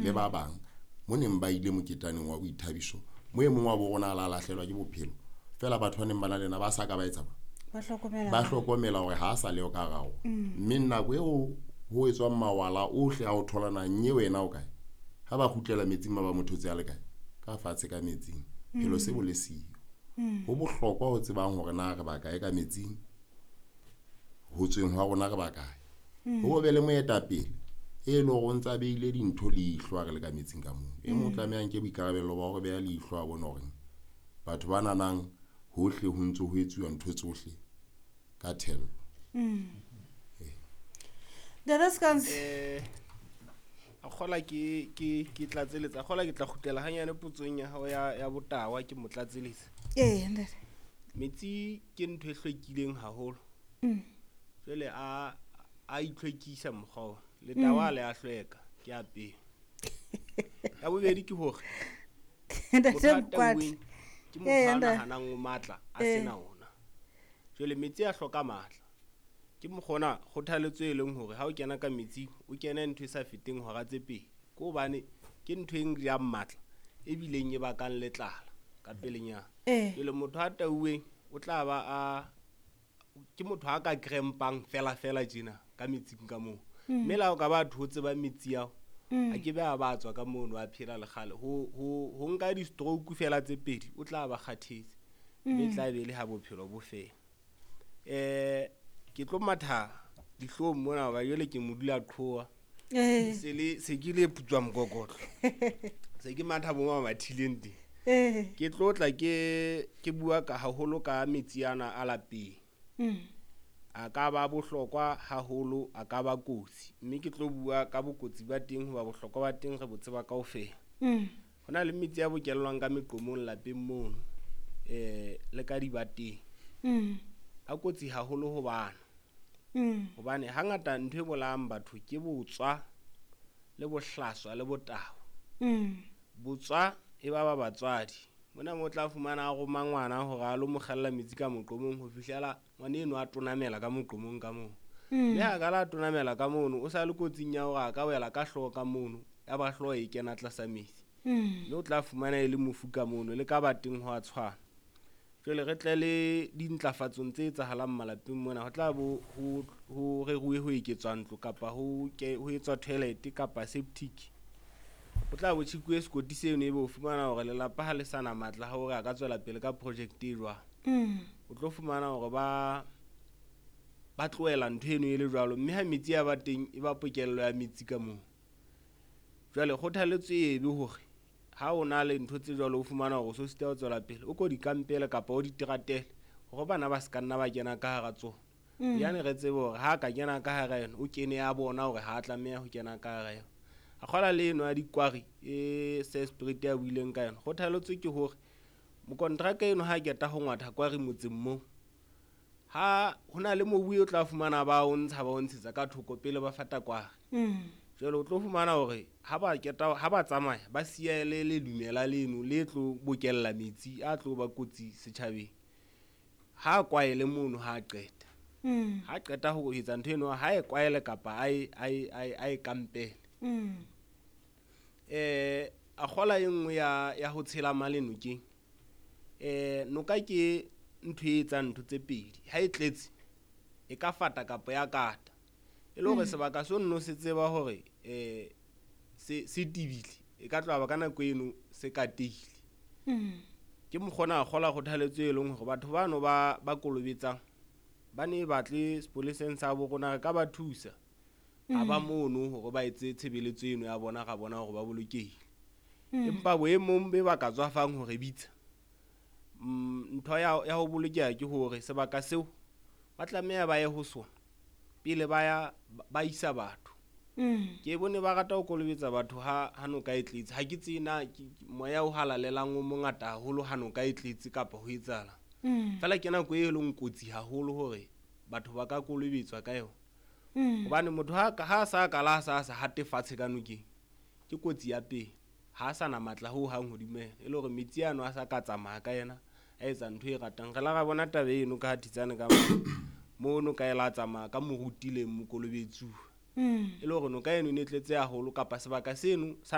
Le ba bang mo neng ba ile moketaneng wa boithabiso, mo e mong wa bo rona a la lahlelwa ke bophelo fela, batho ba neng ba na le yena ba sa ka ba etsa ba hlokomela, ba hlokomela hore ha a sa leo ka hara rona. Mme nako eo ho etswang mawala ohle a ho tholana, nye wena o kae? Ha ba kgutlela metsing, ma ba mo thotse a le kae? Ka fatshe ka metsing, phelo se bo le siyo. Ho bohlokwa ho tsebang hore na re ba kae ka metsing, ho tsweng hwa rona re ba kae. Ho be le moetapele e leng hore o ntsa beile dintho leihlo ha re le ka metsing ka moo. E mong o tlameha nke boikarabello ba hore beha leihlo, a bone hore batho ba nanang hohle ho ntso ho etsuwa ntho tsohle ka thello. Dada Scans. A kgola ke tlatseletsa, a kgola ke tla kgutlela hanyane potsong ya hao ya botawa, ke mo tlatseletsa. Ee, ntate. Metsi ke ntho e hlwekileng haholo. Jwale a itlhwekisa mokgwa ona. Letawa le a hlweka, ke a pele. Ya bobedi ke hore Ntate motho a Mokwatla. tauweng ke motho Ee, a ntate. nahanang o matla a sena ona. Jwale metsi a hloka matla. Ke mokgona kgothaletso e leng hore ha o kena ka metsing o kene ntho e sa feteng hora tse pedi, ke hobane ke ntho e jang matla ebileng e bakang le tlala ka pelenyana. Jwale motho a tauweng o tla ba a ke motho a ka krempang fela fela tjena ka metsing ka moo. Mme le ha o ka ba thotse ba metsi ao, a ke be a ba tswa ka mono a phela le kgale. Ho nka di-stroke fela tse pedi o tla ba kgathetse, mme tla be le ha bophelo bo fela. Ke tlo matha dihlong mona hoba jwale ke modula qhowa. Se le se ke le putswa mokokotlo. Se ke matha bo mamathileng teng. Ke tlo tla ke bua ka haholo ka metsi ana a lapeng. A ka ba bohlokwa haholo, a ka ba kotsi. Mme ke tlo bua ka bokotsi ba teng hoba bohlokwa ba teng re bo tseba kaofela. Ho na le metsi a bokellwang ka meqomong lapeng mono, le ka dibateng. A kotsi haholo ho bana. Hobane hangata ntho e bolayang batho ke botswa le bohlaswa le botawa. Botswa e ba ba batswadi. Mona mo tla fumana a roma ngwana hore a lo mo kgella metsi ka moqomong ho fihlela ngwana eno a tonamela ka moqomong ka moo. Mme ha ka la tonamela ka mono, o sa le kotsing ya hore a ka wela ka hlooho ka mono, ya ba hlooho e kena tlasa metsi. Mme o tla fumana e le mofu ka mono, le ka ba teng ho a tshwana. Jwale re tle le dintlafatsong tse etsahalang malapeng mona, ho tla bo ho reruwe ho eketswa ntlo kapa ho etswa toilet kapa septic. O tla bo tjhekuwe sekoti seno, ebe o fumana hore lelapa ha le sana matla hore a ka tswela pele ka project e jwang. O tlo fumana hore ba tlohela ntho eno e le jwalo, mme ha metsi a ba teng e ba pokello ya metsi ka moo. Jwale kgothaletso e be hore ha o na le ntho tse jwalo, o fumana hore o so sita ho tswela pele, o ko di kampele kapa o di teratele hore bana ba se ka nna ba kena ka hara tsona. Yane re tsebe hore ha ka kena ka hara yona, o kene ya bona hore ha a tlameha ho kena ka hara yona. A kgola le eno ya dikwari e se spirit ya buileng ka yona. Kgothaletso ke hore mokontraka eno ha keta ho ngwatha kwari motseng moo, ha hona le mobu o tla fumana ba o ntsha, ba o ntshetsa ka thoko pele ba fata kwari. Jwale o tlo fumana hore ha ba keta, ha ba tsamaya ba siya le le lumela leno le tlo bokella metsi a tlo ba kotsi setjhabeng. Ha kwaele mono ha qeta. Ha qeta ho etsa ntho eno, ha e kwaele kapa a e kampele. A kgola e nngwe ya ho tshela male nokeng. Noka ke ntho e etsang ntho tse pedi. Ha e tletse e ka fata kapa ya kata. E le hore sebaka seo nno se tseba hore se tibile, e ka tloha ba ka nako eno se katehile. Ke mokgona a kgola kgothaletso e leng hore batho bano ba kolobetsang ba ne batle sepoleseng sa bo rona, re ka ba thusa. Ha ba mono hore ba etse tshebeletso eno ya bona, ra bona hore ba bolokehile. Empa boemong be ba ka tswafang hore bitsa, ntho ya ho bolokeha ke hore sebaka seo ba tlameha ba ye ho sona pele ba ya ba isa batho. Ke bone ba rata ho kolobetsa batho ha noka e tletse. Ha ke tsebe na moya o halalelang o mongata haholo ha noka e tletse kapa ho etsahala. Feela ke nako e leng kotsi haholo hore batho ba ka kolobetswa ka yona. Hobane motho ha sa kala sa hate fatshe ka nokeng, ke kotsi ya pele. Ha sa na matla ho hang hodimo yena, e le hore metsi ano a sa ka tsamaya ka yena, a etsa ntho e ratang. Re la ra bona taba eno ka Thitsane ka mo noka e la tsamaya ka moruti le mokolobetsuwa. E le hore noka eno e ne tletse haholo kapa sebaka seno sa